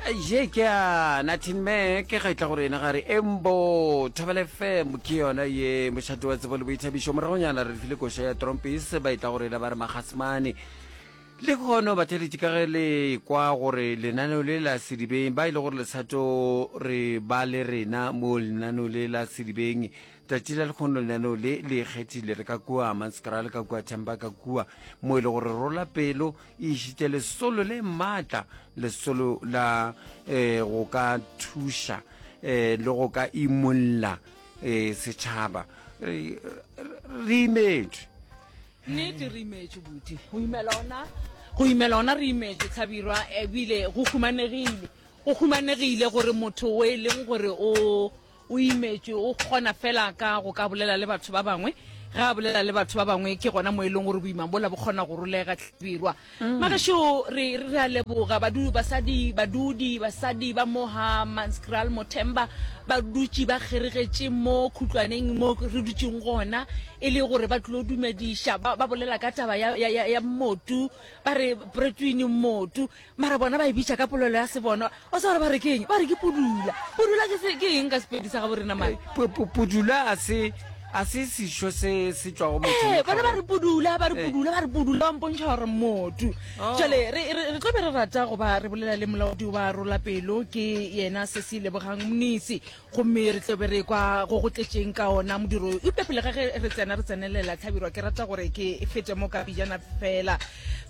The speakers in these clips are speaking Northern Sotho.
Ye ke ya Nathin Mac ga e tla go rena ga re Embo Thobela FM ke yona ye mošate wa tsebo le boithabišo. Moragonyana re file koša ya Trompis ba e tla go rena ba re Magasmane. Le kgono batheletši ka ge le kwa gore lenaneo le la Sedibeng ba e le gore le sa tlo re ba le rena mo lenaneo le la Sedibeng tšatši la lekgono lenaneo le le ikgethile re ka kua Hammanskraal ka kua Themba ka kua mo e le gore rola pelo e išitše lesolo le maatla, lesolo la eh, go ka thuša eh, le go ka imolla eh, setšhaba. Re re imetšwe. Nnete re imetšwe buti. Go imela ona, go imela ona re imetšwe Hlabirwa ebile go humanegile. Go humanegile gore motho o e leng gore o O imetšwe, o kgona feela ka go ka bolela le batho ba bangwe. Ge a bolela le batho ba bangwe, ke gona mo e leng gore boima bola bo kgona go rolega. Hlabirwa. Magešo, re, re a leboga. Badu, basadi, badudi, basadi ba mo ga Manskraal, Mothemba, ba dutše ba kgeregetše mo khutlwaneng mo re dutšeng gona, e le gore ba tlilo dumediša. Ba, ba bolela ka taba ya, ya, ya, ya mmotu, ba re, Bretwini mmotu. Mara bona ba e bitša ka polelo ya sebona. O tseba gore ba re ke eng? Ba re ke pudula. Pudula ke se, ke eng ka Sepedi sa gabo rena mare? Pu, pu, pudula a se, a se sešo se se tšwago mothong. Ee, bona ba re pudula, ba re pudula, ba re pudula, ba mpontšha gore motu. Oh. Jwale re, re, re tlo be re rata go ba re bolela le molaodi wa Rola Pelo, ke yena Sesi Lebogang Mnisi. Gomme re tlo be re kwa go go tletšeng ka ona modiro wo. Eupša pele ga ge re tsena re tsenelela, Hlabirwa, ke rata gore ke fete mo ka pejana feela.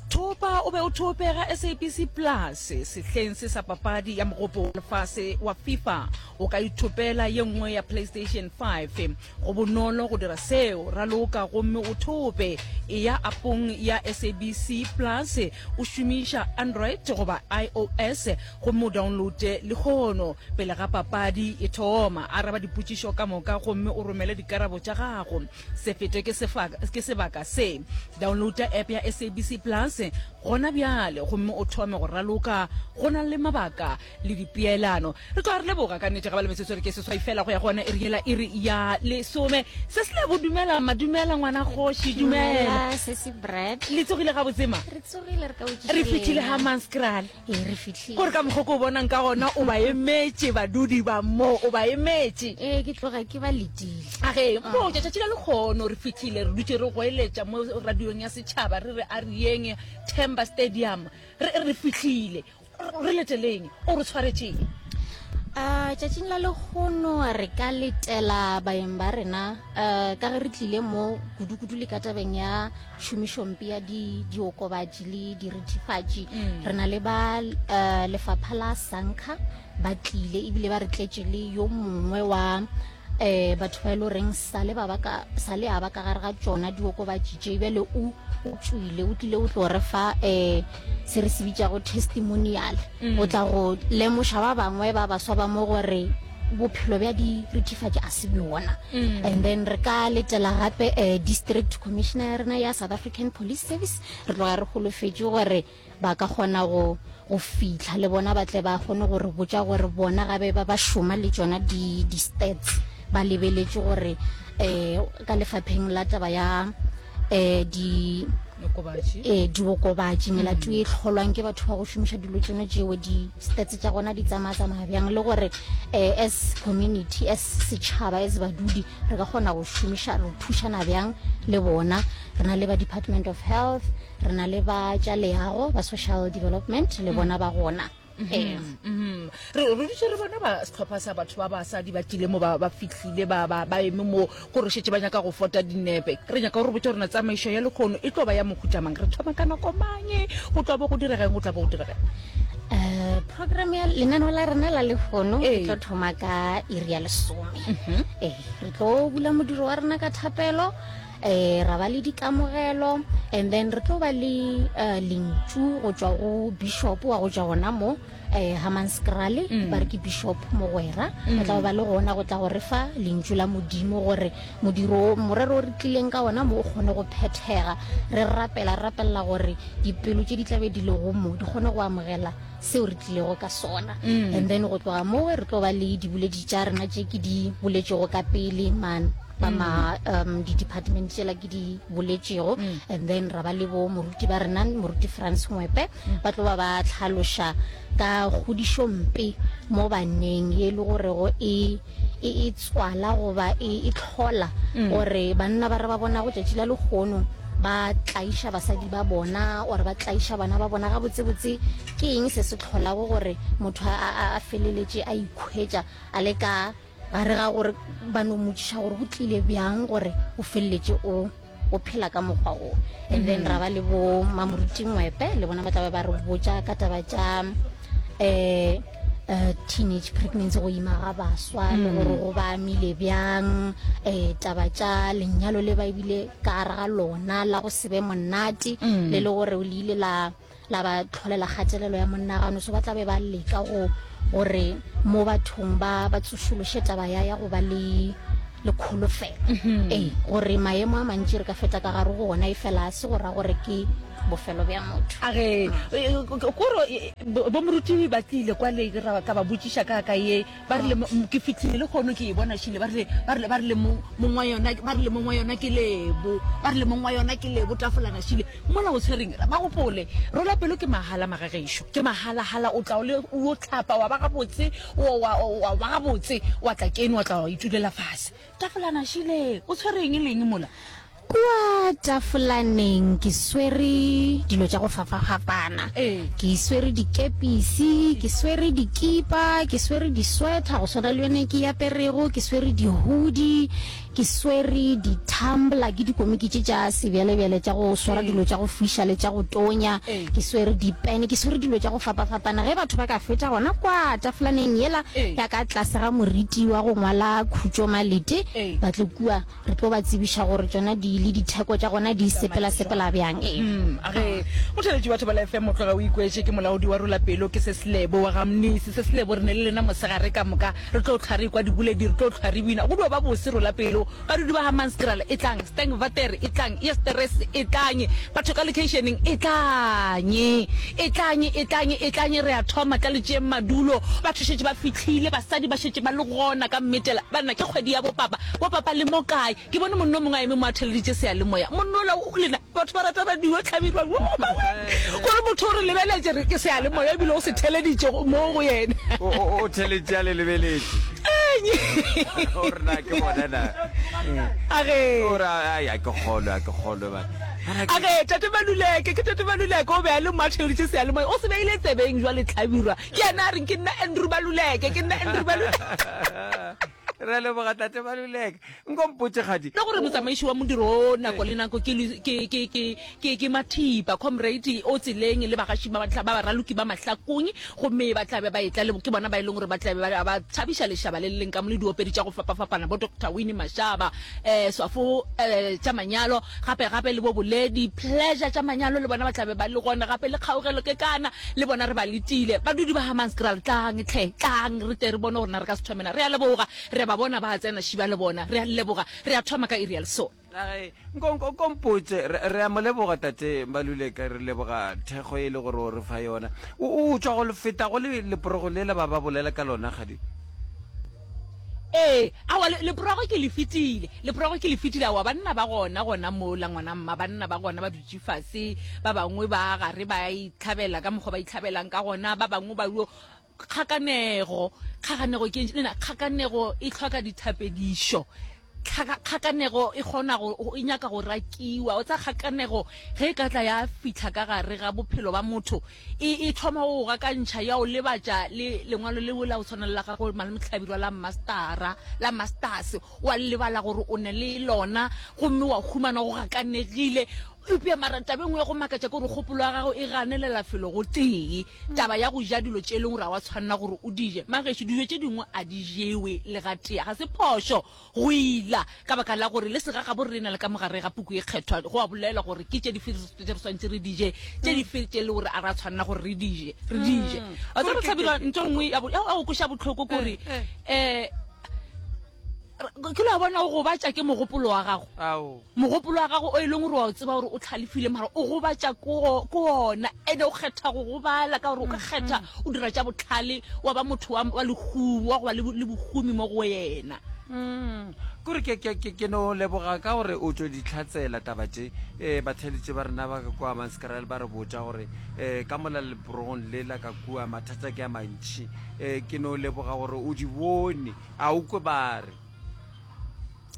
Thopa o be o thope ga SABC Plus sehleng se sa papadi ya Mogopo wa Lefase wa FIFA. O ka ithopela ye nngwe ya PlayStation 5. Go bonolo go dira seo. Raloka gomme o thope. Eya apong ya SABC Plus o šomiša Android goba iOS gomme o downloade lehono. Pele ga papadi e thoma, araba dipotšišo ka moka gomme o romele dikarabo tša gago. Se fetwe ke ke sebaka se. Downloada app ya SABC Plus gona bjale gomme o thome go raloka go na le mabaka le dipeelano. Re tloga re leboga ka nnete ga ba le metsotso re ke seswai fela go ya go yona iri yela iri ya lesome. Se se lebo dumela ma dumela ngwana kgoši dumela. Dumela sesi Brad. Le tsogile gabotse ma? Re tsogile re ka botšiša Re fihlile lena. Hammanskraal. Ee, re fihlile. Gore ka mokgwa o ke o bonang ka gona o ba emetše badudi ba mo, o ba emetše. Ee, ke tloga ke ba letile. A ge, mpotše, tšatši la lekgono re fihlile re dutše re goeletša mo radiong ya setšhaba re re a re yeng Themba Stadium. Re re fihlile. Re leteleng? O re tshwaretšeng? A tšatšing la lekgono re ka letela baeng ba rena um ka ge re tlile mo kudu-kudu le ka tabeng ya tšhomišompe ya di diokobatši le dirithifatši mm. re na le ba uh, lefapha la sanka ba tlile ebile ba re tletše le yo mongwe wa eh batho ba e le goreng sale ba ba ka sale a ba ka gare ga tšona diokobatši tše bjale o o tšwile o tlile o tlo re fa eh se re se bitšago testimonial mm. o tla go lemoša ba bangwe ba baswa ba mo gore bophelo bja dirithifatši a se bjona mm. and then re ka letela gape eh, district commissioner ya rena ya south african police service re tloga re holofetše gore ba ka kgona go go fihla le bona ba tle ba kgone go re botša gore bona gabe ba ba šoma le tšona di di stats ba lebeletše gore eh ka lefapheng la taba ya eh di eh diokobatši melato e hlolwang ke batho ba go šomiša dilo tšeno tšeo di stats tša gona di tsamaya tsamaya bjang le gore eh as community as setšhaba as badudi re ka kgona go šomiša re thušana bjang le bona re na le ba department of health Re na le ba tša leago, ba social development, le bona ba gona. Ee. Mm-hmm. Re re dutše re bona ba sehlopha sa batho ba basadi ba tlile mo ba ba fihlile ba ba ba eme mo gore šetše ba nyaka go fota dinepe. Re nyaka gore botse gore na tsamaišo ya lekgono e tlo ba ya mohuta mang, re thoma ka nako mang, go tlo bo go direga eng, go tla bo go direga eng. Eh, program ya lenaneo la rena la lehono e tlo thoma ka iri ya lesome. Ee, re tlo bula modiro wa rena ka thapelo. eh ra ba le dikamogelo and then re tlo ba le uh, lentšu go tšwa go bishop wa go tšwa gona mo eh Hammanskraal mm. ba re ke bishop mogwera mm. ba tla ba le gona go tla go re fa lentšu la modimo gore modiro morero o re tlileng ka ona mo o kgone go phethega re rapela re rapelela gore dipelo tše di tlabe di lego mo di kgone go amogela seo re tlilego ka sona mm. and then go tloga moo re tlo ba le diboledi tša rena tše ke di boletšego ka pele man ba ma um di-department tšela ke di boletšego mm. and then ra ba le bo moruti ba rena moruti france ngwepe mm. ba tlo ba ba tlhaloša ka kgodišompe mo baneng ye e le gorego e e e tswala goba e e hlola gore banna ba re ba bonago tšatši la lehono ba tlaiša basadi ba bona or ba tlaiša bana ba bona gabotsebotse ke eng se se hlolago gore motho a, a, a feleletše a ikhwetša a le ka gare ga gore ba no mmotšiša gore go tlile bjang gore o feleletše o o phela ka mokgwa o. And then ra ba le bo Mamoruti Ngwepe le bona ba tla be ba re botša ka taba tša um uh, teenage pregnancy go ima ga baswa le gore go ba amile bjang um taba tša lenyalo le ba ebile ka gare ga lona la go se be monate le le gore le ile la la ba tlholela kgatelelo ya monagano so ba tla be ba leka go gore mo bathong ba ba tsošološe taba ya ya go ba le le kholofelo mm-hmm. ee gore maemo a mantši re ka feta ka gare go ona e fela a se go ra gore ke bofelo bja motho a re koro bo moruti ba tlile kwa le ka ba botšiša ka ka ye Ba rile, Ke fihlile lehono ke e bona šile. Ba rile, ba rile, ba rile mong wa yona, ba rile mong wa yona ke Lebo. Ba rile mong wa yona ke Lebo tafolana šile. Mola o tshwereng, ba gopole, rola pelo ke mahala magagešo. Ke mahalahala, o tla o le o hlapa wa ba gabotse, wa, wa, wa ba gabotse, wa tla keno wa tla wa itulela fase. Tafolana šile, o tshwere eng le eng mola? Kua tafolaneng ke swere dilo tša go fapafapana. Ke swere dikepisi, ke swere dikipa, ke swere diswetha go swana le yone ke e aperego, ke swere dihudi, ke swere di-tumbler, ke dikomiki tše tša sebjalebjale tša go swara dilo tša go fiša le tša go tonya, ke swere dipene, ke swere dilo tša go fapafapana. Ge batho ba ka fetša gona kua tafolaneng yela ya ka tlase ga moriti wa go ngwala Khutšo Malete, ba tle kua. Re tlo ba tsebiša gore tšona di le ditheko tša gona di sepela-sepela bjang. Ee. Mm, a ge motheletši wa Thobela FM o tloga o ikwetše ke molaodi wa Rola Pelo ke Seslebo wa ga Mnisi. Seslebo re ne le lena mosegare ka moka re tlo hlwa re ekwa diboledi re tlo hlwa re bina go dio ba bose Rola Pelo. Badudi ba Hammanskraal etlang, Sterkwater etlang, Eersterust etlang, batho ka lekheišeneng etlang, etlang, etlang, etlang re a thoma tla le tšeeng madulo. Batho šetše ba fihlile, basadi ba šetše ba le gona ka mmetela. Banna ke kgwedi ya bopapa. Bo papa le mo kae? Ke bone monna o mongwe a eme mo a theleditše seyalemoya. Monna ola o lena batho ba rata radio hlabirwa gore motho o re lebeletše re ke seyalemoya ebile o se theleditše mo go yena. O theleditše a le lebeletše. O re na ke bona na. Age. O re ai a ke kgolwe a ke kgolwe ba. Age tate Maluleke ke tate Maluleke o be a le mo a theleditše seyalemoya o se beile tsebeng jwale hlabirwa ke yena a reng ke nna Andrew Maluleke ke nna Andrew Maluleke. Re a leboga Tate Maluleke. Nko mpotše kgadi. Le gore motsamaiši wa modiro wo nako le nako ke, ke, ke, ke, ke, ke Mathipa, comrade o tseleng le bagaši ba, ba baraloki ba Mahlakong, gomme ba tla be ba etla le, ke bona ba e leng gore ba tla be ba, ba thabiša lešaba le le leng ka mo le diopedi tša go fapafapana, bo Doctor Winnie Mashaba, eh, Swafo, eh, tša manyalo, gape, gape le bo Boledi, Pleasure tša manyalo le bona ba tla be ba le gona, gape le Kgaugelo Kekana le bona re ba letile. Badudi ba Hammanskraal, tlang hle, tlang re tle re bone gore na re ka se thome na. Re a leboga, re a ba bona ba tsena šiba le bona. Re a le leboga. Re a thoma ka iri ya lesome. Age, nko, nko, nko mpotše, re, re a mo leboga Tate Maluleka, re leboga thekgo e le gore o re fa yona. O, o tšwa go feta go le leporogo lela ba ba bolela ka lona, kgadi? Ee, aowa, le, leporogo ke le fetile, leporogo ke le fetile, aowa, banna ba gona gona mola, ngwana mma, banna ba gona ba dutše fase, ba bangwe ba gare ba itlhabela ka mokgwa ba itlhabelang ka gona, ba bangwe ba yo, kgakanego, kgakanego ke eng, lena, kgakanego e hloka dithapedišo, tlhaka, kgakanego e kgona go, e nyaka go rakiwa, o tseba kgakanego ge e ka tla ya fihla ka gare ga bophelo ba motho, E, e thoma go go gakantšha, ya o lebatša le lengwalo leo la go tshwana le la gago Malome Hlabirwa la mastara, la masters, wa lebala gore o ne le lona gomme wa humana o gakanegile. Eupša mara taba e nngwe ya go makatša ke gore kgopolo ya gago e ganelela felo go tee. Taba ya go ja dilo tše e leng gore ga wa tshwanela gore o di je. Magešo, dijo tše dingwe a di jewe le gatee. Ga se phošo go ila, ka baka la gore le segagabo rena le ka mo gare ga Puku ye Kgethwa go a bolelwa gore ke tše dife tše re swanetše re di je, tše dife tše le gore a ra tshwanela gore re di je, re di je. Wa tseba Hlabirwa, ntho e nngwe ya go kweša bohloko ke gore um ke lo bona o gobatša ke mogopolo wa gago. Mogopolo wa gago o e leng gore wa o tseba gore o tlhalefile, mara o gobatša ko ona, ene o kgetha go gobala ka gore o ka kgetha o dira tša bohlale wa ba motho wa, wa lehumo, wa go ba le, le bohumi mo go wena. Mm. Kore ke, ke, ke, ke no leboga ka gore o tšo di hlatsela taba tše. E, batheeletši ba rena ba ka kua Manskraal ba re botša gore e, ka mola leporogong le la ka kua mathata ke a mantši. E, ke no leboga gore o di bone, a o kwe ba re.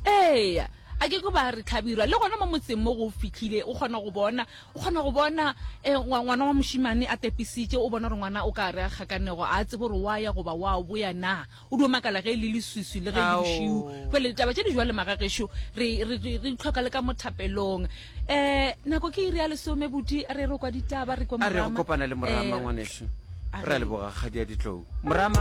Eya, a ke kwe ba re Hlabirwa. Le gona mo motseng mo go fihlile, o kgona go bona, o kgona go bona e, ngwana wa mošemane a tepisitše, o bona gore ngwana o ka re a kgakanego, a tsebe gore wa ya goba wa boya na. O dio makala ge e le leswiswi le ge e le bošego. Bjale ditaba tše di jwale magagešo re, re, re, re di hloka le ka mo thapelong. Um nako ke iri ya lesome buti, a re re kwa ditaba, re kwe A re go Morama. kopana le Morama Eh, ngwanešu. a Re a re. leboga kgadi ya ditlou. Morama.